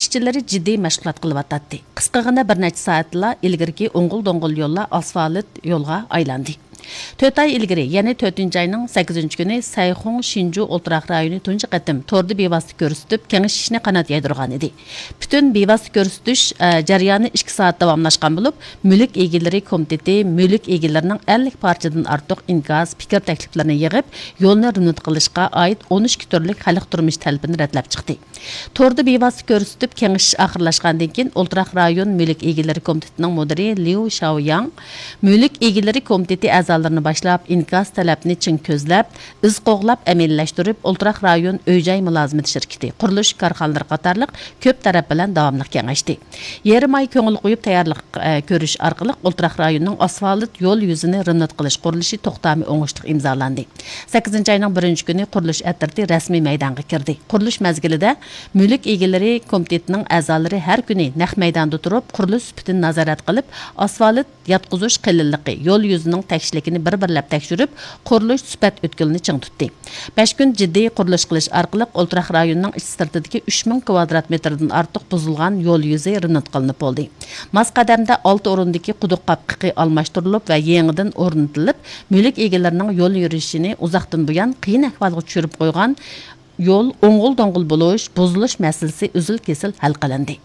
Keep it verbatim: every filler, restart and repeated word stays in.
ئىشچىلىرى جىددىي مەشغۇلات قىلىۋاتاتتى. قىسقىغىنا بىر نەچچە سائەتلا ئىلگىرىكى ئوڭغۇل دوڭغۇل يوللار ئاسفالت يولغا ئايلاندى. تۆت ئاي ئىلگىرى، يەنى تۆتىنچى ئاينىڭ سەككىزىنچى كۈنى سەيخۇڭ شىنجۇ ئولتۇراق رايونى تۇنجى قېتىم توردا بىۋاسىتە كۆرسىتىپ، كېڭىشىشنى قانات يايدۇرغان ئىدى. پۈتۈن بىۋاسىتە كۆرسىتىش، ئە، جەريانى ئىككى سائەت داۋاملاشقان بولۇپ، مۈلۈك ئىگىلىرى كومىتېتى مۈلۈك ئىگىلىرىنىڭ ئەللىك پارچىدىن ئارتۇق ئىنكاس، پىكىر تەكلىپلىرىنى يىغىپ، يولنى رېمونت قىلىشقا ئائىت ئون ئىككى تۈرلۈك خەلق تۇرمۇش تەلىپىنى رەتلەپ چىقتى. توردا بىۋاسىتە كۆرسىتىپ كېڭىشىش ئاخىرلاشقاندىن كېيىن، ئولتۇراق رايون مۈلۈك ئىگىلىرى كومىتېتىنىڭ مۇدىرى ليۇ شاۋياڭ مۈلۈك ئىگىلىرى كومىتېتى ئەزالىرىنى باشلاپ، ئىنكاس تەلەپنى چىڭ كۆزلەپ، ئىز قوغلاپ ئەمەلىيلەشتۈرۈپ، ئولتۇراق رايون ئۆي-جاي مۇلازىمىتى شىركىتى، قۇرۇلۇش كارخانىلىرى قاتارلىق كۆپ تەرەپ بىلەن داۋاملىق كېڭەشتى. يېرىم ئاي كۆڭۈل قويۇپ تەييارلىق، ئە، كۆرۈش ئارقىلىق ئولتۇراق رايوننىڭ ئاسفالت يول يۈزىنى رېمونت قىلىش قۇرۇلۇشى توختامى ئوڭۇشلۇق ئىمزالاندى. سەككىزىنچى ئاينىڭ بىرىنچى كۈنى قۇرۇلۇش ئەترىتى رەسمىي مەيدانغا كىردى. قۇرۇلۇش مەزگىلىدە مۈلۈك ئىگىلىرى كومىتېتىنىڭ ئەزالىرى ھەر كۈنى نەق مەيداندا تۇرۇپ، قۇرۇلۇش سۈپىتىنى نازارەت قىلىپ، ئاسفالت ياتقۇزۇش قېلىنلىقى، يول يۈزىنىڭ تەكشىلىكىنى بىر-بىرلەپ تەكشۈرۈپ، قۇرۇلۇش سۈپەت ئۆتكىلىنى چىڭ تۇتتى. بەش كۈن جىددىي قۇرۇلۇش قىلىش ئارقىلىق ئولتۇراق رايوننىڭ ئىچ سىرتىدىكى ئۈچ مىڭ كىۋادرات مېتىردىن ئارتۇق بۇزۇلغان يول يۈزى رېمونت قىلىنىپ بولدى. ماس قەدەمدە ئالتە ئورۇندىكى قۇدۇق قاپقىقى ئالماشتۇرۇلۇپ ۋە يېڭىدىن ئورنىتىلىپ، مۈلۈك ئىگىلىرىنىڭ يول يۈرۈشىنى ئۇزاقتىن بۇيان قىيىن ئەھۋالغا چۈشۈرۈپ قويغان يول ئوڭغۇل-دوڭغۇل بولۇش، بۇزۇلۇش مەسىلىسى ئۈزۈل-كېسىل ھەل قىلىندى.